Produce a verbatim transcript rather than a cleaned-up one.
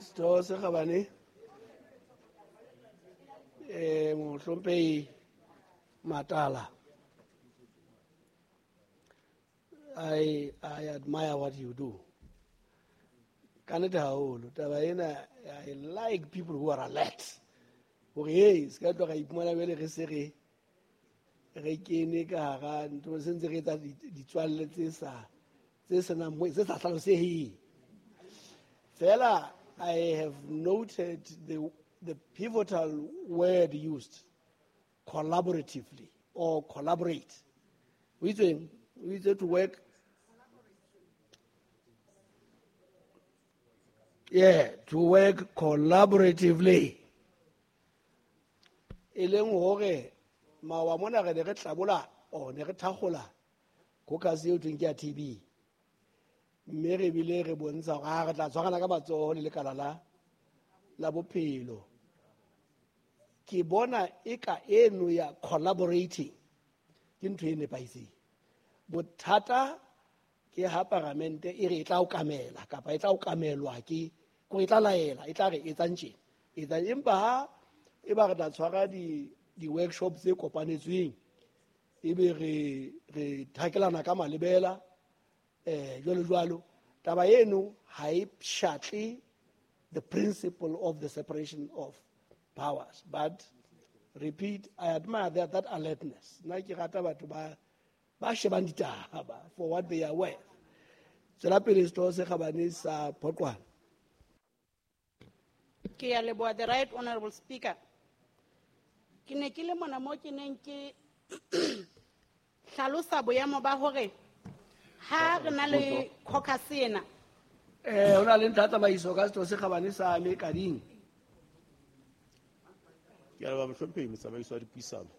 Setho se kgabane eh mohlomphehi Matala, I I admire what you do. Ka nnete haholo taba ena, I like people who are alert. Hore hey, se ka tloha ra iphumana jwale re se re re kene ka hara ntho, se ntse re etsa ditswalle tse sa tse senang mo, tse sa hlaloseheng. Fela I have noted the, the pivotal word used, collaboratively or collaborate. O itseng? O itse to work. Yeah, to work collaboratively. E leng hore maoba mona re ne re tlabola, or ne re thakgola caucus eo thweng ke ya T B. Mme re bile re bontsha hore ha re tla tshwarana ka matsoho le lekala la, la bophelo. Ke bona eka eno ya collaborating ke ntho e nepahetseng. Bothata ke ha paramente e re e tla okamela kapa e tla okamelwa ke, kore e tla laela, e tla re etsang tjena, etsang. Empa ha e ba re tla tshwara di, di-workshop tse kopanetsweng, ebe re, re thakelana ka malebela, eh, jwalo jwalo, taba eno ha e pshatle the principle of the separation of powers. But repeat, I admire that, that alertness. Nna ke rata batho ba, ba shebang ditaba for what they are worth. Tswela pele setho se kgabane sa Phoqwana. Ke a leboha, the right honorable speaker. Ke ne ke le mona mo ke neng ke hlalosa boemo ba hore ha re na le caucus ena. Eh, ho na le ntlha ya tsamaiso ka setho se kgabane sa Mekading. Ke a leboha, mohlomphehi motsamaisi wa dipuisano.